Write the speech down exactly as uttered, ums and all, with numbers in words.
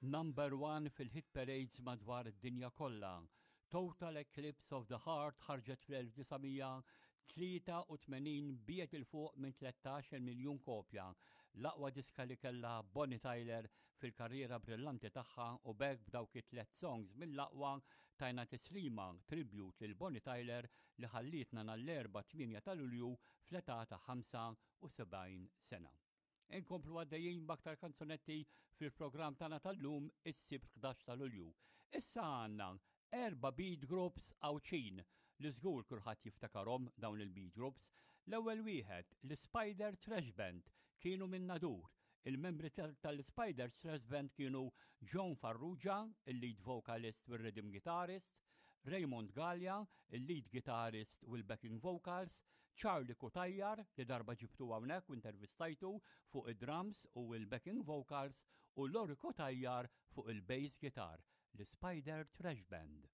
Number one fil-hit parades madwar id-dinja kollha. Total Eclipse of the Heart ħarġet fl-elf disa' mija tlieta u tmenin, biegħet 'il fuq minn tlettax-il miljun kopja. L-aqwa diska li kella Bonnie Tyler fil-karriera brillanti tagħha, u b'hekk b'dawk it-tlet songs mill-aqwa tajna tislima, tribute lil Bonnie Tyler li ħallietna nhar l-Erbgħa tmienja ta' Lulju fl-età ta' ħamsa u sebgħin sena. Inkomplu għaddejjin b'aktar kanzunetti fil-programm tagħna tal-lum, is-Sibt ħdax ta' Lulju. Issa għandna erba' beat groups Għawdxin li żgur kulħadd jiftakarhom dawn il-beat groups. L-ewwel wieħed, l-Spider Thrash Band, kienu minn Nadur. Il-membri tal-Spider Thrash Band kienu John Farrugia, il-lead vocalist u rhythm guitarist, Raymond Gallia, il-lead guitarist u l-backing vocals, Charlie Cutajar, li darba ġibtu hawnhekk u intervistajtu, fuq id-drums u l-backing vocals, u Lori Cutajar fuq il-bass guitar, l-Spider Thrash Band.